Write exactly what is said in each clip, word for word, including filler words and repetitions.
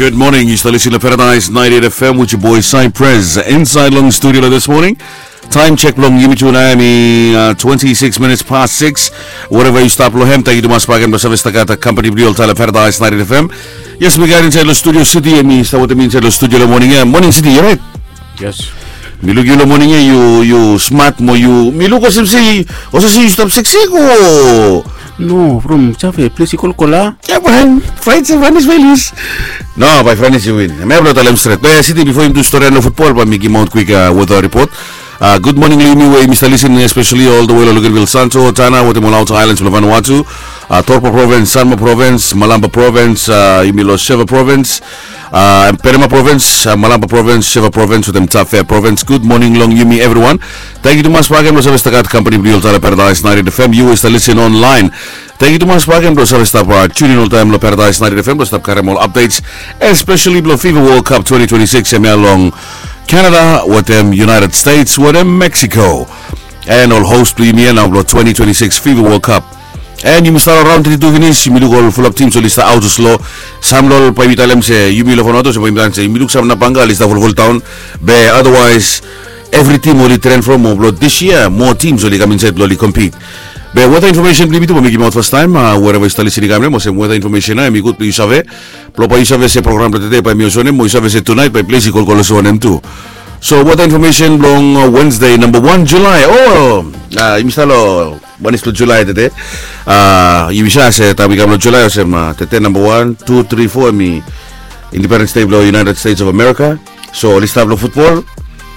Good morning. Yu stap lisin long Paradise ninety-eight F M with your boy Cypress. Inside long studio this morning. Time check long yumi tu nao hemi uh, twenty-six minutes past six. Wherever yu stap long hem, thank you tumas bagen blong save stap gat company blong yu oltaem long Paradise ninety-eight F M. Yes, mi gat inside long studio City, hemi stap wetem mi inside long studio long morning ia. Morning City, yu right? Yes. Mi luk yu long morning ia, yu yu smart mo yu mi luk olsem se olsem se yu stap siksik o. No, from save ples i kolkol a. Ia man, fight se vanis vailus. No, bai Franis i win. Hemia blong talem stret. Be City, bifo yumi tu storian long futbol, bai mi gimaot kwik uh, weather report. Uh, good morning long yumi we yumi stap lisin, especially all the way long Luganville, Santo, Tanna wetem ol outer islands blong Vanuatu. Uh, Torpa Province, Sanma Province, Malampa Province, uh, yumi long Sheva Province, uh, Penama Province, uh, Malampa Province, Sheva Province wetem Tafea Province. Good morning long yumi everyone. Thank you tumas bagen blong save stap gat company blong yu oltaem long Paradise ninety-eight F M. Yu we stap lisin online, thank you tumas bagen blong save stap uh, tune in oltaem long Paradise ninety-eight F M blong stap karem ol updates, especially blong FIFA World Cup twenty twenty-six hemia long Canada wetem United States wetem Mexico. And ol host blong yumi ia nao blong twenty twenty-six FIFA World Cup. And yumi stap long raon teti tu finis, yumi luk ol fulap teams oli stap aot olsem. Sam long ol bae yumi talem se yumi long Vanuatu olsem bae yumi talem se yumi luk sam nabanga oli stap fulful daon. Be otherwise evri team oli tren from o blong dis yia moa teams oli kam insaed blong oli compete. Be weather information blong yumi tu bae mi gimaot fastaem, uh, wherever yu stap lisin i kam long hem olsem weather information ia hemi gud blong yu save. Blong bae yu save se program blong tede bae mi olsem wanem, mo yu save se tunaet bae ples i kolkol olsem wanem tu. So weather information blong uh, Wednesday namba wan Julai. O, uh, yumi stap long wanis blong Julai tede. Uh, yumi save se taem i kam long Julai olsem uh, tede namba wan, tu, tri, fo hemi Independence Day blong United States of America. So oli stap long futbol,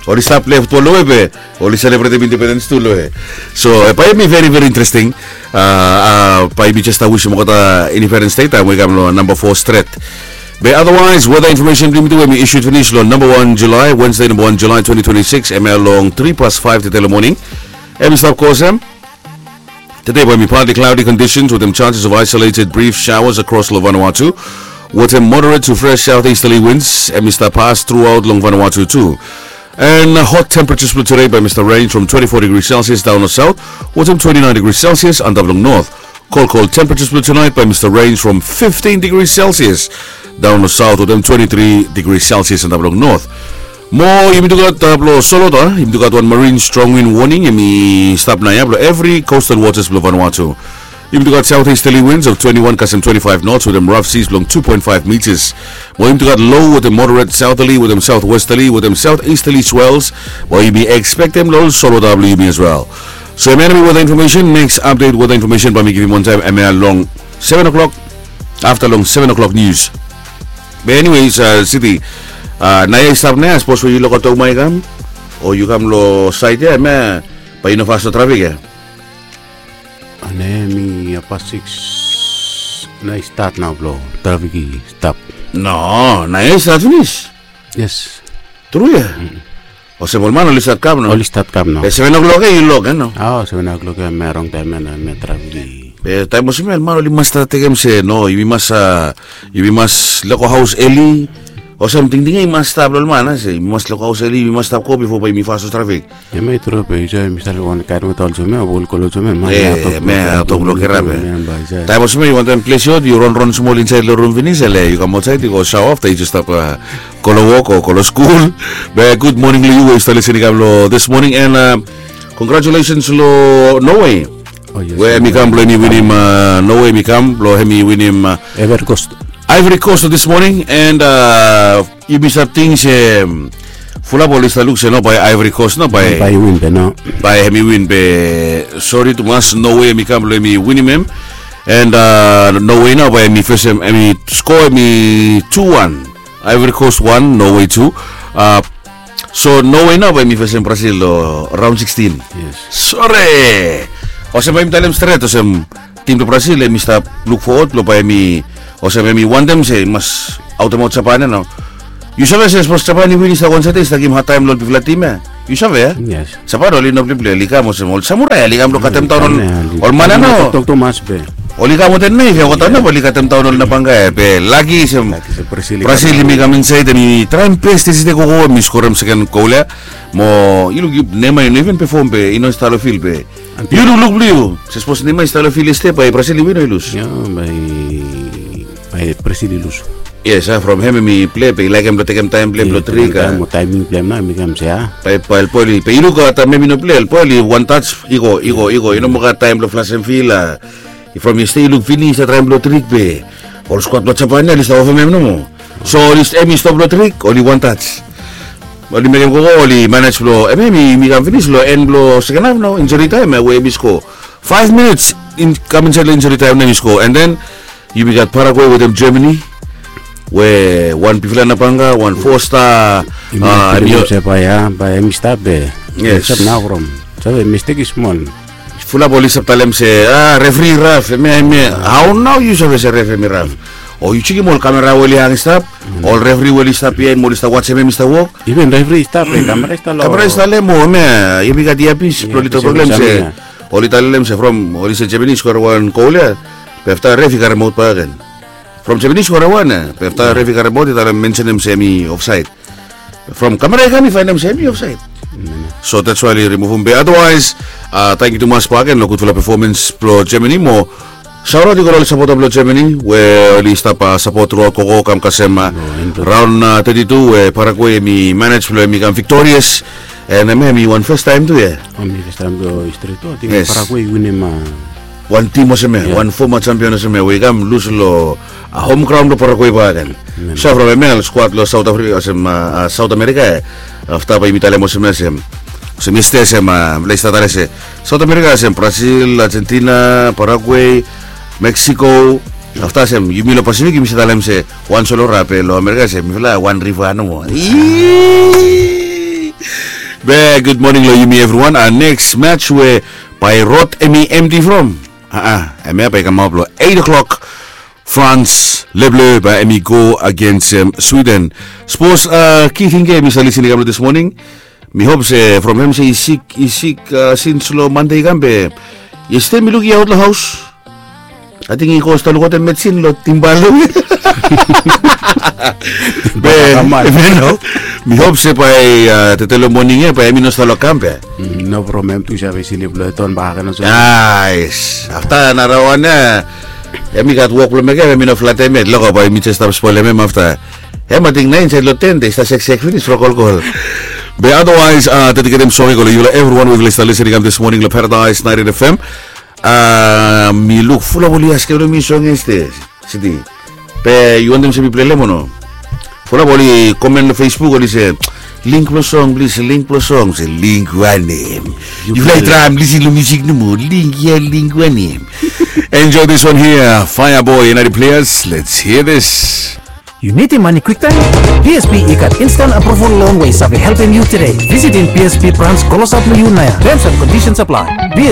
oli stap pilai futbol long we be oli selebretem independens tu long we. So bae hemi veri veri interesting. Uh, uh, bae yumi jes stap wisim olgeta Independence Day taem we i kam long namba fo stret. Be otherwise weather information blong yumi tu we mi issued finis long namba wan Julai, Wednesday namba wan Julai twenty twenty-six, hemia long tri past faef tede long moning. Hemi stap go olsem. Tede bae hemi partly cloudy conditions wetem chances of isolated brief showers across long Vanuatu, wetem moderate to fresh southeasterly winds hemi stap pass throughout long Vanuatu tu. And uh, hot temperatures blong tede bae hemi stap range from twenty-four degrees Celsius daon long south wetem twenty-nine degrees Celsius antap long north. Cold, cold temperatures blong tonight bae hemi stap range from fifteen degrees Celsius daon long south wetem twenty-three degrees Celsius antap long north. Mo yumi tu gat uh, blong Solota, yumi tu gat wan marine strong wind warning hemi stap naoia blong evri coastal waters blong Vanuatu. Yumi tu gat southeasterly winds of twenty-one kasem twenty-five knots wetem rough seas blong two point five meters. Mo yumi tu gat low wetem moderate southerly wetem southwesterly wetem southeasterly swells. Mo yumi ekspektem long ol Solota blong yumi as well. So hemia nao hemi weather information. Next update weather information bae mi givim wantaem hemia long seven o'clock, afta long seven o'clock news. Be anyways uh, City, uh, naoia i stap naoia, sapos we yu loko Tokuma i kam o yu kam long saed ia, hemia bae yu no fas long trafik ia. Naoia hemi hapas sikis, naoia i stat nao blong trafik i stap. No, naoia i stat finis. Yes. Tru ia? Olsem ol man oli stat kam nao. Oli stat kam nao. Be seven o'clock ia yu lok ia nao. O, seven o'clock ia hemia rong taem ia nao, hemia trafik i. Be taem olsem ia ol man oli mas stat tekem se no, yumi mas uh, yumi mas leko haos eli. Olsem tingting ia i mas stap long ol man ia se yumi mas leko haos eli, yumi mas stap go bifo bae yumi fas long trafik. Hemia i tru be yu save mi stap long wan kaen weta olsem ia, ol kol olsem ia, man ia tok blong kerap ia. Taem olsem ia yu wantaem ples yu hot, yu ronron smol insaed long rum finis, ele yu kam aotsaed yu go shaoa afta yu jes stap uh, go long wok o go long skul. Be gud moning long yu we yu stap lisin i kam long this morning and uh, congratulations long Norway. We hemi kam blong hemi winim uh, Norway hemi kam blong hemi winim uh, Ivory Coast. Ivory Coast this morning and uh, yumi stap ting se um, fulap oli stap luk se no bae Ivory Coast no bae bae i win be no. Bae hemi win be sori tumas, Norway hemi kam blong hemi winim hem. And uh, Norway nao bae hemi fesem, hemi score hemi two one. Ivory Coast one, Norway two. Uh, so Norway nao bae hemi fesem Brazil long round sixteen. Yes. Sore. Olsem bae yumi talem stret olsem tim blong Brazil hemi stap luk fowod blong bae hemi, olsem hemi wantem se i mas aotemaot Japan ia nao. Yu save se sapos Japan i win i stap wan sait ia i stap givim hadtaem long ol bigfala tim ia. Yu save ia? Yes. Japan oli no pilai pilai, oli kam olsem ol samurai, oli kam blong katem daon ol man ia nao. Oli kam wetem naef ia, olgeta nao oli katem daon ol nabanga ia. Be laki se Brazil i kam insaed, hemi traem bes, City, go go, hemi skorem seken gol ia. Mo yu luk, Neymar i no iven pefom be i no stap long fil be yu lukluk blong yu se sapos Neymar i stap long fil yestede bae Brazil i win o i lus? Ia, bae Brazil i lus. Yes, a from hem hem i pilai be i laekem blong tekem taem blong hem blong trik. Taem o taeming blong hem nao hem i kam se a. Bae bae oli be i luk a taem hem i no pilai oli wantaj i go i go i go i no moa gat taem blong flasem fil a. From yestede i luk finis a traem blong trik be ol skuad blong Japan ya oli stap ofem hem nomo. So oli hem i stop long trik oli wantaj. Oli mekem gogo oli manej blong hem hem i kam finis long en blong seken haf nao injuri taem we hem i sko. Faef minits kam insaed long injuri taem nao hem i sko and then yumi gat Paraguay wetem Germany. We wan bigfala nabanga wan fosta. Yumi a se bae ya bae hem i stap be. Yes. Stap nao from save mistek i smol. Fulap oli stap talem se a refri i raf hemia hemia. Hao nao yu save se ref hem i raf? O yu sekem ol kamera we oli hang i stap, ol refri we oli stap ya mo oli stap wajem hem i stap wok. Even refri i stap be kamera i stap lo kamera i stap lem o hemia yumi gat iapis blong oli tok long lem se oli talem se from oli se Japanese i skora wan gol ya. Be afta ref i karemaot bakegen from Japanese i skora wan ya be afta ref i karemaot i talem mensenem se hem i ofsaed. From kamera i kam i faenem se hem i ofsaed. So that's why oli rimuvum be otherwise tangkiu tumas bakegen long gudfala pefomens blong Germany mo. Saoraot i go long ol sapota blong Germany we oli stap sapot truaot gogo kam kasem raon teti tu we Paraguay hem i manej blong hem i kam viktorias. And hemia hem i wan fastaem tu ya. Hemia fastaem tu histri tu ating Paraguay i winim a wan tim olsem ya wan foma jampion olsem ya we i kam lus long hom graon blong Paraguay bakegen. So from hemia ol skuad long Saot Afrika olsem Saot Amerika ya. Afta bae yumi talem olsem ya olsem olsem yestede olsem mifala i stap talem se Saot Amerika olsem Brasil, Argentina, Paraguay, Mexico. Afta olsem yumi long Pasifik yumi stap talem se wan solo rape long Amerika olsem mifala wan riva nomo. Be gud moning long yumi evriwan. Neks match we bae rod hem i emti from a hemia bae i kamaot long eit o'clock. France leble bae hem i go agensem Sweden. Sapos ki ting ya mi save lisin i kam long dis moning. Mi hop se from hem se i sik i sik sins long Mande i kam be yestede mi luk i aot long haos. Ating i go stap lukaotem medsin long timba long be mi hop se bae tete long moning ya bae hem i no stap long kam be. No from hem tu i save silip long ton bakegen olsem. Ais afta narawan ya. Hem i gat wok blong mekem hem i no flatem yet loko bae mi jes stap spolem hem afta. Hem ating nao insaed long ten de i stap seksek finis from kolkol. Be otherwise dediketem song i go long yufala evriwan we yufala i stap lisin i kam dis moning long Paradise naet in F M. Mi luk fulap oli askem long mi song yestede. Siti be yu wantem se mi plelem o no? Fulap oli komen long Facebook oli se link blong song plis link blong song se link wanem? Yufala i traem lisin long musik nomo link ya link wanem? Enjoy this one here, Fireboy and other players. Let's hear this. Yu nidim mane kwiktaem? B S P i gat instant approval loan we i save helpem yu today. Visitim B S P branch klosap long yu naoia. Terms and conditions apply. B